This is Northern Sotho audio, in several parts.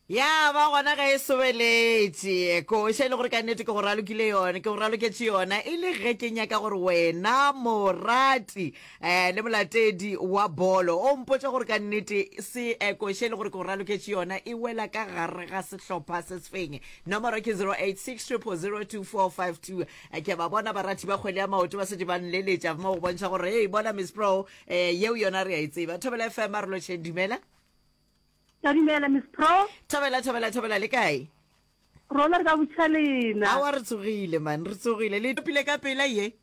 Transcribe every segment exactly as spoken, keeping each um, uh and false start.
Ya ba gona ge e sobeletše koša e le gore ka nnete ke go ralokile yona, ke go raloketše yona e le ge ke nyaka gore wena morati um le molatedi wa bolo o mpotša gore ka nnete se eh, koša e le gore ke go raloketše yona e wela ka gare ga sehlopha se sefeng. Nomoro ke zero eight six triple zero two four five two. Ke a ba bona barati ba kgwele ya maoto ba šetše ba nleletša mo go bontšha gore hei bona Miss Pro eh, yeo yona re a e tseba. Thobela F M a re lotšheng, dumela. Ka dumela Miss Pro. Thobela, thobela, thobela, le kae? Rona re ka botšiša lena. Aowa re tsogile man, re tsogile. Le topile ka pela ye?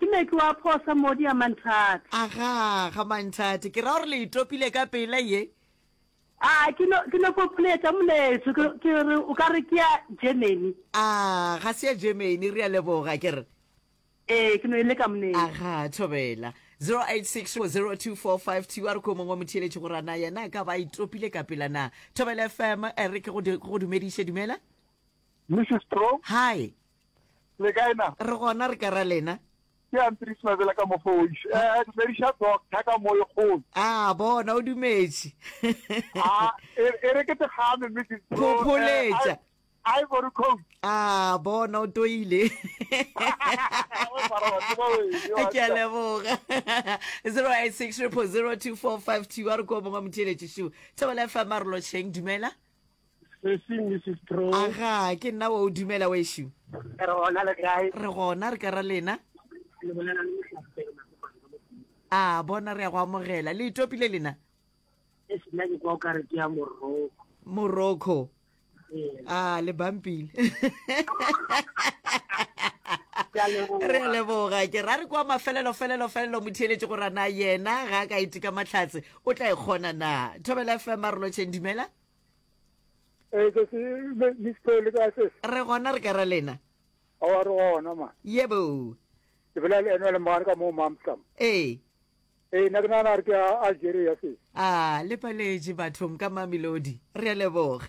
Ke Meki wa phosa modi ya Manthate. Aga, ga Manthate. Ke ra gore le e topile ka pela ye? A, ke no, ke no phopholetša moletšo, ke, ke re o ka re ke ya Germany. A, ga se ya Germany, re a leboga, ke re. Ee, ke no e leka moneng. Aga, thobela. Zero eight six four zero two four five two a re ko mongwe wa motheeletši gore a na yena a ka ba a itopile ka pela na. Thobela F M, e re ke go ke go dumediše, dumela. Missus Pro. Hi. Le kae na? Re gona, re ka ra lena. Ke Andries Mabela ka mo Foish. Eh, dumediša doctor ka mo e kgolo. Ah, bona o dumetše. Ah, e, e re ke tegame Missus Pro. Phopholetša. Eh, Ivory Coast. Ah, bona o toile. Ke a leboga. zero eight six triple zero two four five two a re ko mongwe motheeletši šu. Thobela F M a re lotšheng, dumela. Sesi Missus Pro. Aga, ke nna wa o dumela wešu. Re gona le kae? Re gona re ka ra lena. Le bolela le Mohlapelo Makopana ka Mokgwa. Ah, bona re ya go amogela. Le itopile lena? E sena ke kwa o ka re ke ya Morocco. Morocco. A le bampile. Re a leboga. Ke ra re kwa mafelelo felelo felelo motheeletši gore na yena ga a ka iteka mahlatse o tla e kgona na. Thobela F M a re lotšheng, dumela. Ee, sesi, Miss Pro, le kae sesi? Re gona re ka ra lena. Aowa re gona ma. Yebo. Ke bolela le ena le mogare ka mo Mamsam. Ee. Ee, nna ke nagana gore ke ya Algeria sesi. A le paletše bathong ka Mamelodi. Re a leboga.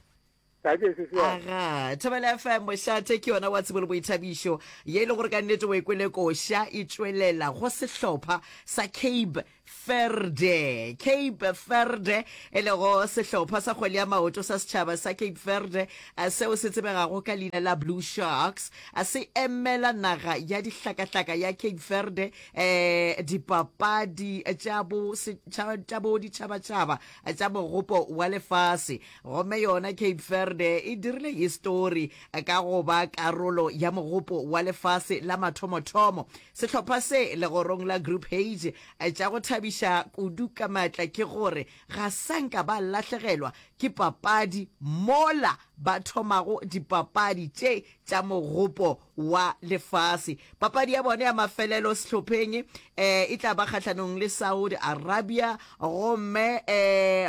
Aga, Thobela F M mošate ke yona wa tsebo le boithabišo ye e le gore ka nnete o e kwele koša e tšwelela go sehlopha sa Cape Verde. Cape Verde e lego sehlopha sa kgwele ya maoto sa setšhaba sa Cape Verde seo se tsebegago ka leina la Blue Sharks se emela naga ya dihlakahlaka ya Cape Verde eh dipapadi tša bo tša bo ditšhabatšhaba tša mogopo wa lefase. Gomme yona Cape Verde e dirile histori ka go ba karolo ya mogopo wa lefase la mathomothomo. Sehlopha se legorong la Group H tša go thabiša kudu ka maatla ke gore ga sa nka ba lahlegelwa ke papadi mola ba thomago dipapadi tše tša mogopo wa lefase. Papadi ya bona ya mafelelo sehlopheng e tla ba kgahlanong le Saudi Arabia gomme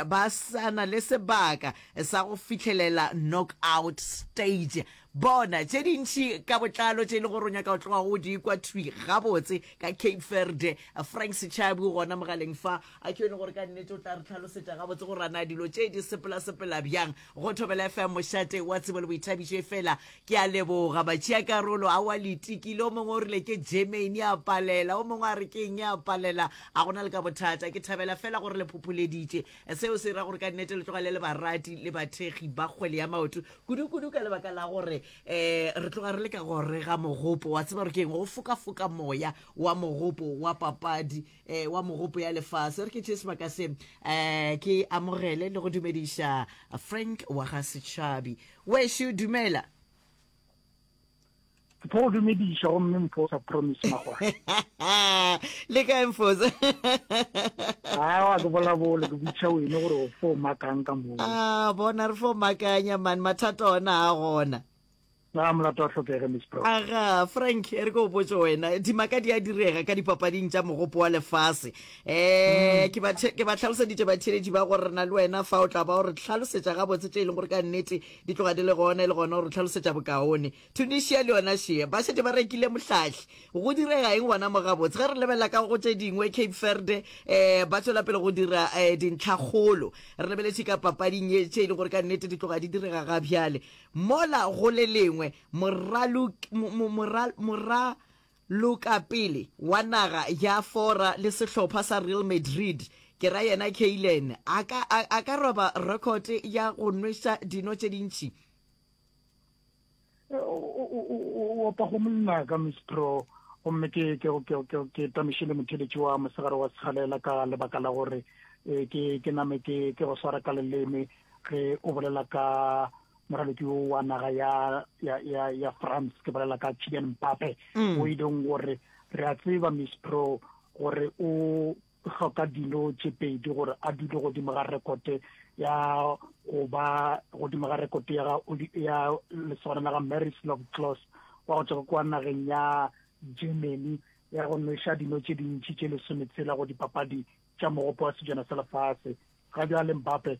ba sa na le sebaka sa go fihlelela knockout stage. Bona tše dintši ka botlalo tše e le gore o nyaka go tloga go di kwa thwi gabotse ka Cape Verde. Frank Sechabi o gona mogaleng fa, a ke yone gore ka nnete o tla re hlalosetša gabotse gore na dilo tše di sepela-sepela bjang go Thobela F M mošate wa tsebo le boithabišo. Efela ke a leboga batšeakarolo, aowa le itekile. O mongwe o rile ke Germany a palela, o mongwe a re ke eng a palela. A gona le ka bothata, ke thabela fela gore le phopholeditše. Seo se ra gore ka nnete le tloga le le barati le bathekgi ba kgwele ya maoto, kudu-kudu ka lebaka la gore um re tloga re le ka gore ga mogopo. Wa tseba gore ke eng? Go fokafoka moya wa mogopo wa papadi um wa mogopo ya lefase. Re ke tšee sebaka se um ke amogele le go dumediša Frank wa ga Setšhabi. Wešo, dumela. Ke tlo go dumediša gomme Mfosa Promise Magwai. Le kae Mfosa? Aowa ke bolabole ke botšiša wene gore o fo makang ka moo. Ah, bona re fo makanya man, mathata ona a gona. Na molato wa hlokege Miss Pro. Aga, Frank, e re ke o botše wena, dimaka di a direga ka dipapading tša mogopo wa lefase. Eh, ke ba ke ba hlaloseditše batheeletši ba gore re na le wena fa o tla ba o re hlalosetša gabotse tše e leng gore ka nnete di tloga di le gona e le gona o re hlalosetša bokaone. Tunisia le yona šea, ba šetše ba rekile mohlahli. Go direga eng gona mo gabotse? Ge re lebelela ka go tše dingwe, Cape Verde eh, ba tšwela pele go dira eh, dintlhakgolo. Re lebeletše ka papading ye tše e leng gore ka nnete di tloga di direga ga bjale. Mola go le lengwe, moralokapele wa naga ya Fora le sehlopha sa Real Madrid Ke ra yena Kaylen, a ka, a, a ka roba record ya go nweša dino tše dintši? O, o, o, o opa go monna ka Miss Pro, gomme ke, ke, ke, ke, ke tamiše le motheletši wa mosegare wa segalela ka lebaka la gore eh, ke, ke name ke, ke go swara ka leleme ge o bolela ka moraloki wo wa naga ya, ya, ya, ya France, ke bolela ka Kylian Mbappe, Mm. o e leng gore re a tseba Miss Pro gore o hloka dino tše pedi gore a dule godimo ga rekote ya go ba godimo ga rekote ya ga Oli-, ya lesogana la ga Miroslav Klose wa go tšwa kwa nageng ya Germany ya go nweša dino tše dintši tše lesometshela go dipapadi tša mogopo wa sejana sa lefase. Ga bjale Mbappe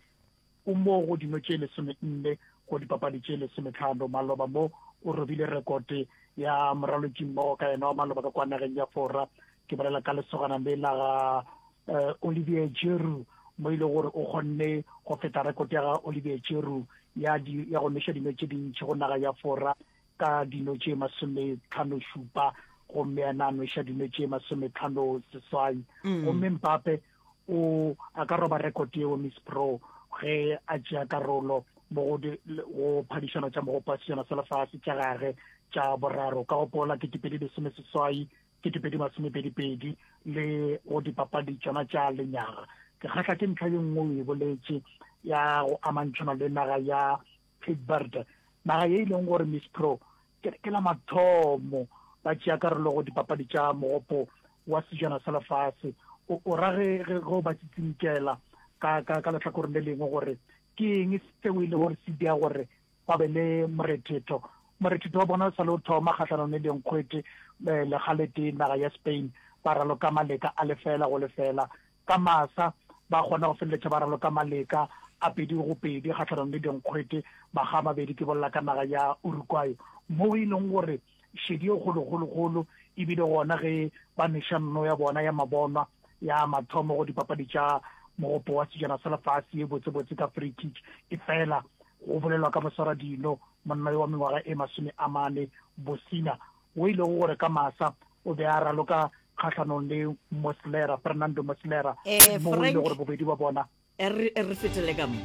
o mo go dino tše lesomenne go dipapadi tše lesometlhano. Maloba mo o robile rekote ya moraloki mmogo ka yena wa maloba ka kwa nageng ya Fora, ke bolela ka lesogana le la ga, eh, Olivier Giroud, mo e le gore o kgonne go feta rekote ya ga Olivier Giroud ya di-, ya go nweša dino tše dintši go naga ya Fora ka dino tše masometlhano šupa, gomme yena a nweša dino tše masometlhano seswai. Mm. Gomme Mbappe o a ka roba rekote eo Miss Pro ge a tšea karolo mo go di-, go phadišano tša mogopo wa sejana sa lefase tša gage tša boraro, ka gopola ketepedi lesome seswai, ketepedi masomepedi pedi le go dipapadi tšona tša lenyaga. Ke kgahla ke ntlha ye nngwe o e boletše ya go amantšhana le naga ya Cape Verde, naga ye e leng gore Miss Pro ke, ke la mathomo ba tšea karolo go dipapadi tša mogopo wa sejana sa lefase. O, o ra ge, ge, ge o ba tsitsinkela ka, ka, ka lehlakoreng le lengwe gore ke eng seo e le gore se dia gore ba be le morethetho. Morethetho wa bona o sa le o thoma kgahlanong le dinkgwete, eh, legaletee naga ya Spain, ba raloka maleka a lefela go lefela. Ka masa ba kgona go feleletša ba raloka maleka a pedi go pedi kgahlanong le dinkgwete, makga a mabedi, ke bolela ka naga ya Uruguay, mo e leng gore šedi e kgolokgolokgolo ebile gona ge ba neša nno ya bona ya mabonwa ya mathomo go dipapadi tša mogopo wa sejana sa lefase ye botsebotse ka free kick. E fela go bolelwa ka moswaradino monna yo wa mengwaga e masome a mane Bosina, o e lego gore ka masa o be a raloka kgahlanong le Muslera, Fernando Muslera, Eh, mo e lego Frank, gore bobedi ba bona eh, re, re fetele ka mo.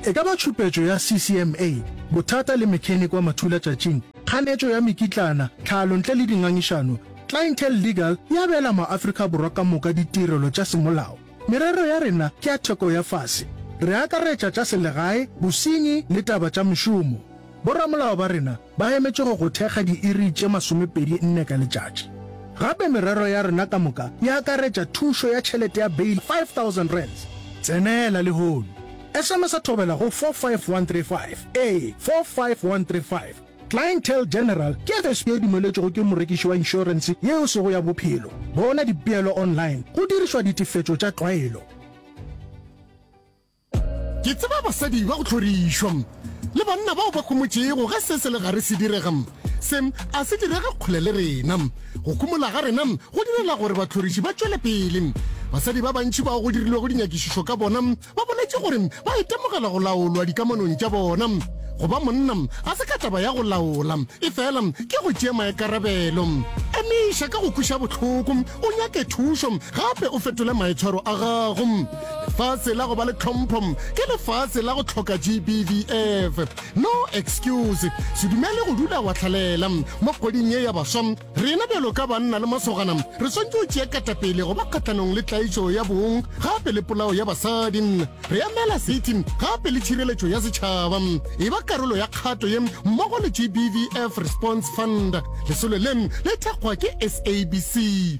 E ka ba tšhupetšo ya C C M A, bothata le mechanic wa mathulatšatšing, kganetšo ya mekitlana, tlhalo ntle le dingangišano, Clientele Legal e abela maAfrika Borwa ka moka ditirelo tša semolao. Merero ya rena ke ya theko ya fase. Re akaretša tša selegae, bosenyi le taba tša mešomo. Boramolao ba rena ba emetše go go thekga diiri tše masomepedi nne ka letšatši. Gape merero ya rena ka moka e akaretša thušo ya tšhelete ya bail five thousand rands. Tsenela lehono. S M S a thobela go four five one three five. Ee, four five one three five. Clientele General ke F S P e dumeletšwego ke morekiši wa inšorense yeo sego ya bophelo. Bona dipeelo online go dirišwa ditefetšo tša tlwaelo. Ke tseba basadi ba go hlorišwa le banna bao ba khomotšego ge se se le gare se direga. Se a se direge kgole le rena. Go khumola ga rena go direla gore bahloriši ba tšwele pele. Basadi ba bantši bao go dirilwego dinyakišišo ka bona ba boletše gore ba itemogela go laolwa dikamanong tša bona. Go ba monna ga se ka taba ya go laola, e fela ke go tšea maikarabelo. Emiša ka go kweša bohloko, o nyake thušo, gape o fetole maitshwaro a gago. Lefase la go ba le tlhompho ke lefase la go hloka G B V F. No excuse, se dumele go dula wa hlalela. Mo kgweding ye ya baswa, rena bjalo ka banna le masogana re swanetše go tšea ketapele go ba kgahlanong le tlaišo ya bong gape le polao ya basadi. Re emela seriti gape le tšhireletšo ya setšhaba. E ba karolo ya kgato ye mmogo le G B V F Response Fund. Lesolo le le thekgwa ke S A B C.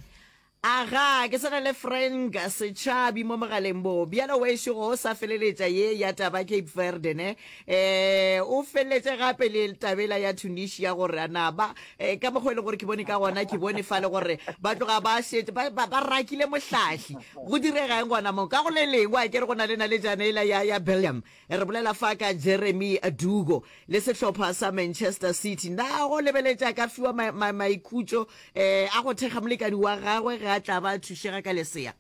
Aga, ke swana le Frank Setšhabi mo mogaleng bo. Bjalo wešo go sa feleletša ye ya taba Cape Verde ne. Eh, o feleletše gape le tabela ya Tunisia gore ana ba, eh, ka mokgwa e leng gore ke bone ka gona, ke bone fale gore ba tloga ba šetše, ba, ba, ba rakile mohlahli. Go direga eng gona mo? Ka go le lengwe, a ke re go na le naletšana ela ya, ya Belgium. Re bolela fa ka Jeremy Doku le sehlopha sa Manchester City. Na go lebeletša ka fiwa ma-, ma-, maikhutšo, eh, a go thekga molekani wa gagwe ge a tla ba thušega ka lesea?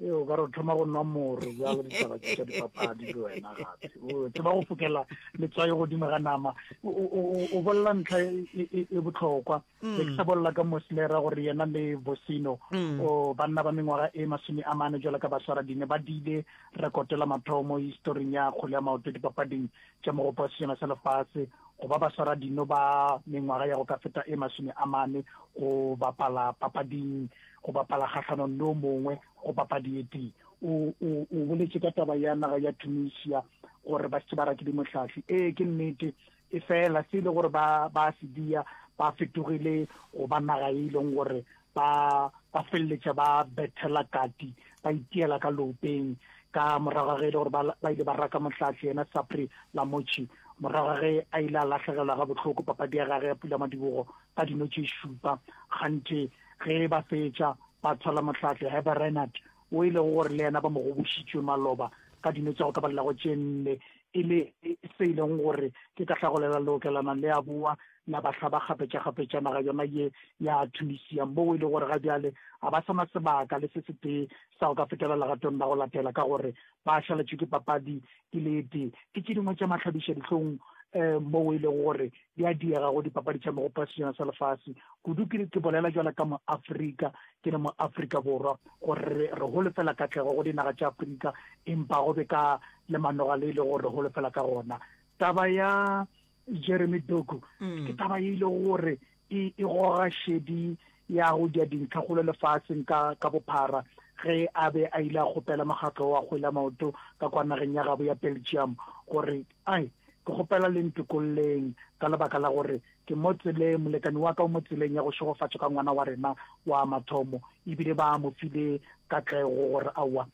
Ee, o ka re o thoma go nwa moro bjalo ditaba tše tša dipapadi le wena gape. O tseba go fokela letswai godimo ga nama. O, o, o, o bolela ntlha e, e, e, e bohlokwa. Be ke sa bolela ka Muslera gore yena le Vosino, o, banna ba mengwaga e masome a mane jwalo ka baswaradine ba diile rekoto la mathomo historing ya kgwele ya maoto dipapading tša Mogopo wa Sejana sa Lefase go ba baswaradino ba mengwaga ya go ka feta e masome a mane go bapala papading go bapala kgahlanong le o mongwe go papadi e tee. O, o, o boletše ka taba ya naga ya Tunisia gore ba šetše ba rakile mohlahli. Ee, ke nnete, efela se e le gore ba, ba se dia, ba fetogile go ba naga e leng gore ba, ba feleletša ba bethela kati, ba itiela ka leopeng ka morago ga ge e le gore ba, ba ile ba raka mohlahli yena Sabri Lamouchi morago ga ge a ile a lahlegelwa gabohloko papadi ya gage ya pulamadibogo ka dino tše šupa. Kganthe ge ba fetša ba thwala mohlahli Hervé Renard wo e lego gore le yena ba mo gobošitšwe maloba ka dino tša go ka balelago tše nne e le se e leng gore ke ka hlagolela leokelana le a boa la ba hlaba kgapetšakgapetša naga yona ye ya Tunisia moo e le gore ga bjale ga ba sa na sebaka le se setee sa go ka fetela legatong la go latela ka gore ba šaletšwe ke papadi e le e tee. Ke tše dingwe tša mahlabišadihlong um moo e lego gore di a diega go dipapadi tša Mogopo wa Sejana sa Lefase. Kudu ke, ke bolela bjalo ka Moafrika, ke le Moafrika Borwa, gore re, re holofela katlego go dinaga tša Afrika, empa go be ka le manoga le e lego gore re holofela ka gona. Taba ya Jeremy Doku ke taba ye e lego gore e, e goga šedi ya go dia dintlhakgolo lefaseng ka, ka bophara ge a be a ile a kgopela mokgatlo wa kgwele ya maoto ka kwa nageng ya gabo ya Belgium gore, Ai, ke kgopela le ntokolleng ka lebaka la gore ke mo tseleng, molekani wa ka o mo tseleng ya go šegofatšwa ka ngwana wa rena wa mathomo, ebile ba mo file katlego gore aowa,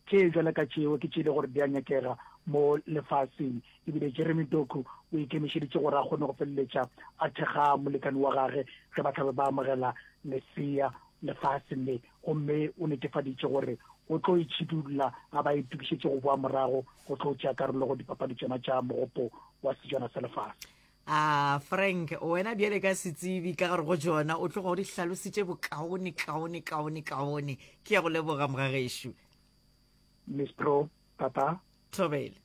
tše bjalo ka tšeo ke tše e le gore di a nyakega mo lefaseng. Ebile Jeremy Doku o ikemišeditše gore a kgone go feleletša a thekga molekani wa gage ge ba tla be ba amogela lesea lefaseng le, gomme o netefaditše gore o tlo itšhidulla a ba a itokišetše go boa morago go tlo tšea karolo go dipapadi tšona tša Mogopo wa Sejana sa Lefase. A Frank, wena bjale ka setsebi ka gare go tšona, o tloga o di hlalositše bokaone, kaone, kaone, kaone. Ke ya go leboga, mogagešo. Miss Pro, Tata. Thobela.